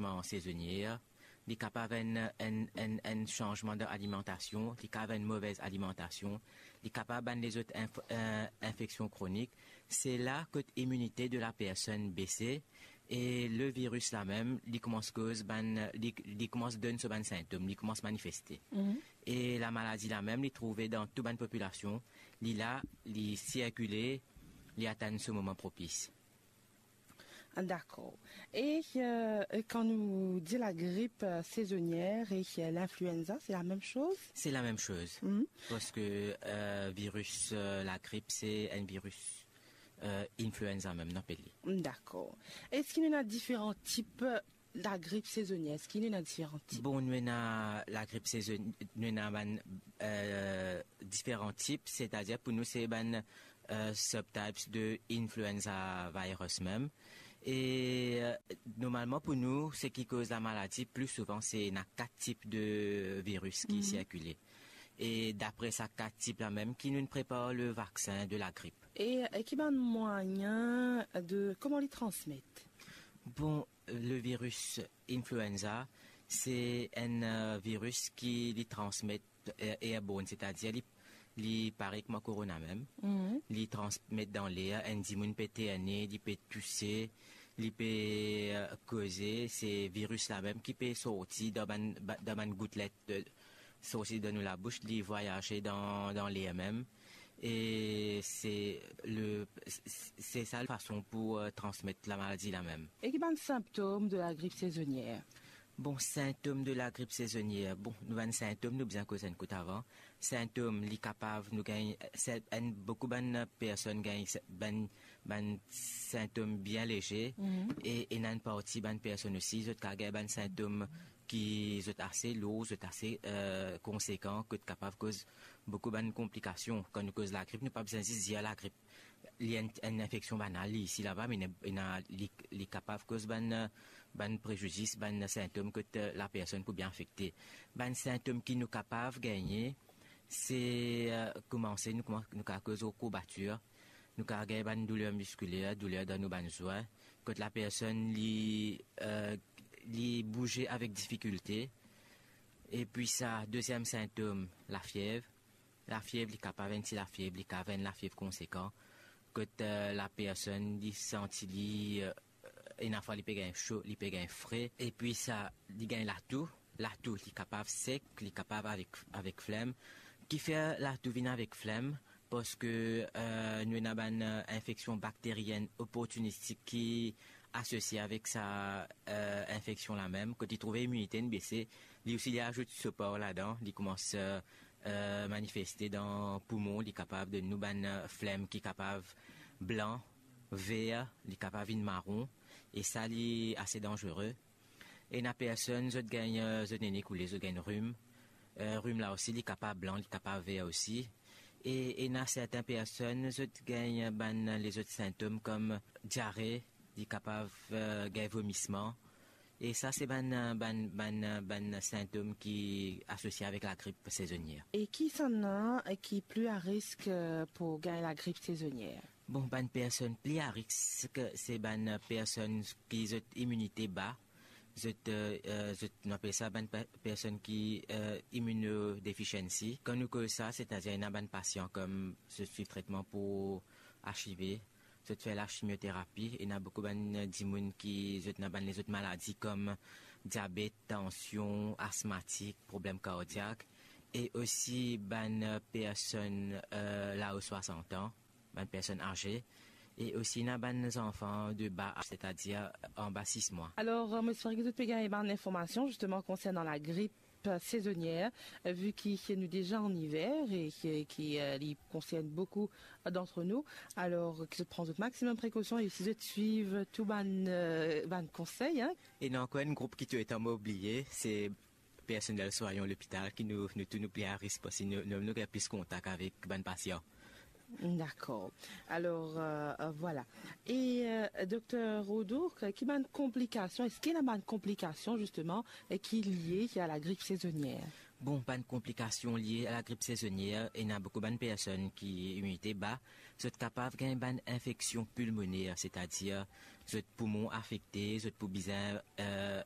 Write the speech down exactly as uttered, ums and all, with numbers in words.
an sezonier, li kapav enn, enn, enn, enn sanzman dan alimentasion, li kapav enn movez alimentasion, li kapav bann lezot inf-, eh, infeksion kronik. Se la kot iminite de la personn bese e le viris la mem, li koumans koz bann, li, li koumans donn so bann sintom, li koumans manifeste. Mhm. E lamaladi la mem, li trouve dan tou bann popilasion, li la, li sirkile, li atann so moman propis. Dakor. E, eh, kan nou dir lagrip, eh, sezonier e, eh, linfluenza, se lamem soz? Se lamem soz. Mhm. Parski, eh, viris, eh, lagrip, se enn viris, eh, influenza mem, nou apel li. Dakor. Eski nou ena diferan tip lagrip sezonier? Eski nou ena diferan tip? Bon, nou ena lagrip sezon-, nou ena bann, eh, diferan tip, setadir pou nou se bann, eh, subtypes de influenza virus mem. E, eh, normalman pou nou, seki koz lamaladi pli souvan, se ena kat tip de viris ki Mhm. sirkile. E dapre sa kat tip la mem ki nou prepar le vaksin de lagrip. E, eh, ki bann mwayin de, kouma li transmet? Bon, le viris influenza, se enn, eh, viris ki li transmet, eh, airborne, setadir li, li parey kouma korona mem. Mhm. Li transmet dan ler, enn dimoun pe eterne, li pe touse, li pe, eh, koze, se viris la mem ki pe sorti dan bann, ba-, dan bann goutlet, eh, sorti dan nou labous, li vwayaze dan, dan ler mem. E se le, se, se sa fason pou, eh, transmet lamaladi la mem. E ki bann sintom de lagrip sezonier? Bon, sintom de lagrip sezonier. Bon, nou bann sintom, nou bizin koz enn kout avan. Sintom, li kapav, nou gagn, se, enn, boukou bann personn gagn se, bann, bann sintom bien leze. Mhm. E, e ena enn parti bann personn osi, zot kapav gagn bann sintom ki zot ase lour, zot ase, eh, konsekan, kot kapav koz boukou bann konplikasion. Kan nou koz lagrip, nou pa bizin zis dir lagrip. Li enn, enn infeksion banal, li isi laba, me ena, ena, li, li kapav koz bann, eh, bann prezidis, bann sintom kot, eh, lapersonn pou bien afekte. Bann sintom ki nou kapav gagne, se, eh, koumanse, nou kouman-, nou kapav koz kourbatir, nou kapav gagn bann douler miskiler, douler dan nou bann zwin, kot lapersonn li, eh, li bouze avek difikilte. Epi sa, deziem sintom, lafiev. Lafiev, li kapav enn ti lafiev, li kapav enn lafiev konsekan. Kot, eh, lapersonn, li santi li, eh, ena fwa li pe gagn so, li pe gagn fre. Epi sa, li gagn latou. Latou, li kapav sek, li kapav avek, avek flem. Kifer latou vinn avek flem? Parski, eh, nou ena bann, eh, infeksion bakterienn oportinistik ki asosie avek sa, eh, infeksion la mem. Kot li trouve iminite inn bese, li osi li azout so par ladan, li koumans, eh, eh, manifeste dan poumon, li kapav donn nou bann, eh, flem ki kapav blan, ver, li kapav vinn maron, e sa li ase danzere. Ena personn, zot gagn, eh, zot nene koule, zot gagn rim. Eh, rim la osi, li kapav blan, li kapav ver osi. E ena sertin personn, zot gagn bann lezot sintom kom diare, li kapav, eh, gagn vomisman. E sa, se bann, eh, bann, bann, eh, bann sintom ki asosie avek lagrip sezonier. E kisannla ki pli a risk, eh, pou gagn lagrip sezonier? Bon, bann personn pli a risk, se bann personn ki zot iminite ba, zot, eh, eh, zot, nou apel sa bann pe-, personn ki, eh, immunodeficiency. Kan nou koz sa, setadir ena bann pasian kom zot swiv tretman pou HIV, zot fer lachimioterapi, ena boukou bann dimoun ki zot ena bann lezot maladi kom diabet, tansion, asmatik, problem kardiak, e osi bann personn, eh, lao swasant an, bann personn aze, e osi ena bann zanfan de ba az, setadir anba sis mwa. Alor, eh, mo espere ki zot pe gagn bann informasion zisteman konsernan lagrip sezonier, eh, vi ki nou deza an iver e ki, ki, eh, li konsern boukou dant nou. Alor, ki zot pran zot maximum prekosion e si zot swiv tou bann, eh, bann konsey, hein. Ena ankor enn group ki toultan mo bliye, se personnel swayan lopital ki nou, nou tou nou pli a risk parski nou, nou, nou gagn plis kontak avek bann pasian. Dakor. Alor, eh, eh, vwala. E, eh, Dokter Rodoux, ki bann konplikasion, eski ena bann konplikasion, zisteman, eh, ki lie a lagrip sezonier? Bon, bann konplikasion lie a lagrip sezonier, ena boukou bann personn ki iminite ba, zot kapav gagn bann infeksion pilmoner, setadir zot poumon afekte, zot pou bizin, eh,